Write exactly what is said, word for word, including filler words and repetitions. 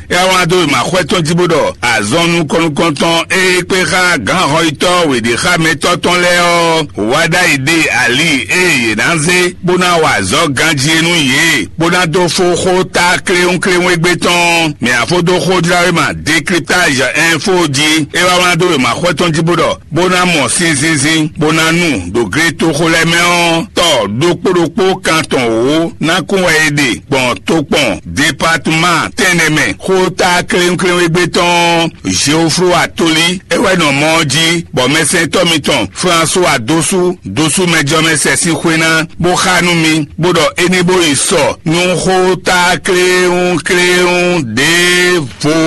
É wá wlán dó wěmaxwɛ tɔn jí bó ɖɔ azɔn nukɔn-nukɔntɔn e kpé xá gǎnhɔyitɔ́ wěɖéxámɛtɔ́ tɔn lɛ́ɛ ɔ́, wá ɖ'ayǐ ɖe ali e yě ná zé bó ná wa azɔ̌ ganjí é nú yě, bó ná dó fó xó ta kléwúnkléwún égbé tɔn. Mɛ afó dó xójláwéma Décryptage Info jí. É wá wlán dó wěmaxwɛ tɔn jí bó ɖɔ bó ná mɔ sinzinzin, bó ná nu ɖo gletoxo lɛ́ɛ mɛ ɔ́, tɔ ɖokpó ɖokpó kan tɔn wǒ ná kún wɛ è ɖe gbɔn tokpɔn departema tɛnɛ mɛ. Xó ta kléwúnkléwún égbé tɔn Geoflo Atoli é wɛ nɔ mɔ ɔ́ jí, bɔ mɛsɛntɔ́ mitɔn François Dosu Dosu mɛjɔmɛsɛ sín xwé ná bó xá nú mi, bó ɖɔ é ní bó yi sɔ nú xó ta kléwúnkléwún ɖěvo.